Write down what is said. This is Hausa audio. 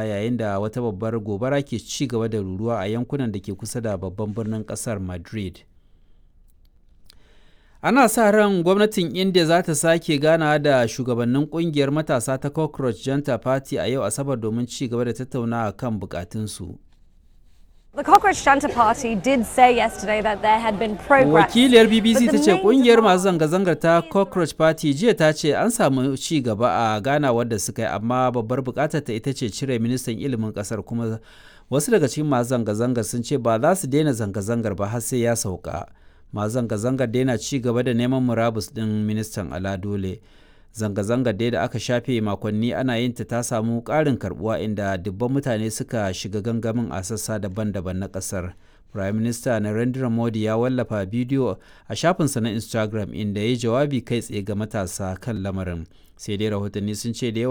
Yayin da wata babbar gobara ke ci gaba da ruruwa a yankunan da ke kusa da babban birnin kasar Madrid. Ana sa ran gwamnatin India za ta sake ganawa da shugabannin kungiyar matasa ta Cockroach Janta Party a yau Asabar domin ci gaba da tattaunawa kan bukatunsu. The Cockroach Janta Party did say yesterday that there had been progress. Wakiliyar BBC But ta the ce main kungiyar demand- masu zanga-zangar ta Cockroach Party jiya ta ce an samu ci gaba a ganawar da suka yi, amma babbar bukatar ta ita ce cire ministan ilimin kasar, kuma wasu daga cikin masu zanga-zangar sun ce ba za su daina zanga-zangar ba har sai ya sauka. Masu zanga-zangar daina ci gaba da neman murabus din ministan ala dole. Zanga-zangar dai da aka shafe makonni ana yin ta ta samu ƙarin karbuwa, inda dubban mutane suka shiga gangamin a sassa daban-daban na ƙasar. Prime Minister Narendra Modi ya wallafa bidiyo a shafinsa na Instagram inda ya yi jawabi kai tsaye ga matasa kan lamarin. Sai dai rahotanni sun ce da yawa